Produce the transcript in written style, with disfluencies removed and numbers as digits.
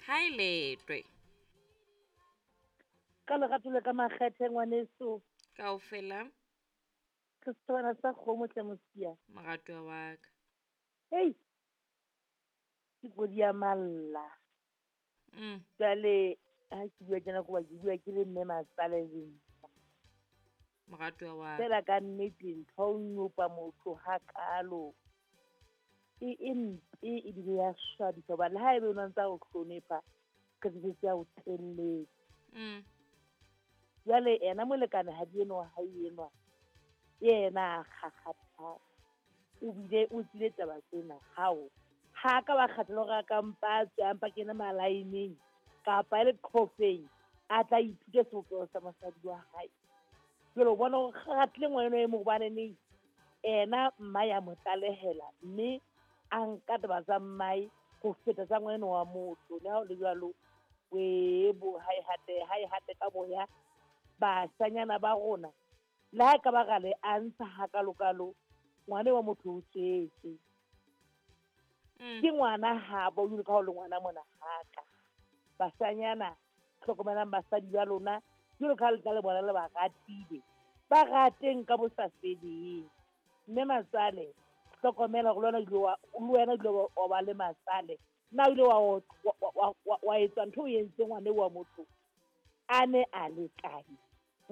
Ha e letwe. Ka lerato le ka makgethe ngwaneso. Kaofela. Ke setshwana sa kgomo tle mosia. Moratuwa wa ka. Hei. Ke kodi ya malla. Jwale ha ke bua tjena koba ke bua ke le mme matsale le nna. Moratuwa wa ka. Fela ka nnete ntho o nyopa motho hakalo. E mpe ebile ya swabisa hobane le ha ebe o ne ntsa o hlonepha, qetelletse ya o telletse. Jwale ena molekane ha di enwa ha e enwa. Yena a kgakgatha. O bile o tsile taba tsena hao. Ha ka ba kgathela hore a ka mpa tswe a mpa kene malaeneng kapa e le qhofeng a tla ithute sebopeho sa mosadi wa hae. Jwale o bona hore kgathile ngwana e mong hobane neng ena mma ya mo tlalehela mme a nka taba tsa mmae ho feta tsa ngwana wa motho. Le ha ho le jwalo, webo ha e hate ka boya bashanyana ba rona. Le ha e ka ba ra le a ntsha hakalokalo, ngwana wa motho o tswetse. Ke ngwana habo, jwalo ka ha o le ngwana mona haka. Bashanyana, hlokomelang basadi ba lona, jwalo ka ha le tla le bona le ba ratile. Ba rateng ka bo sa feleng. Mme matsale, hlokomela hore le wena o ile wa ba le matsale. Na o ile wa etsa ntho o entseng ngwana wa motho a ne a le kae?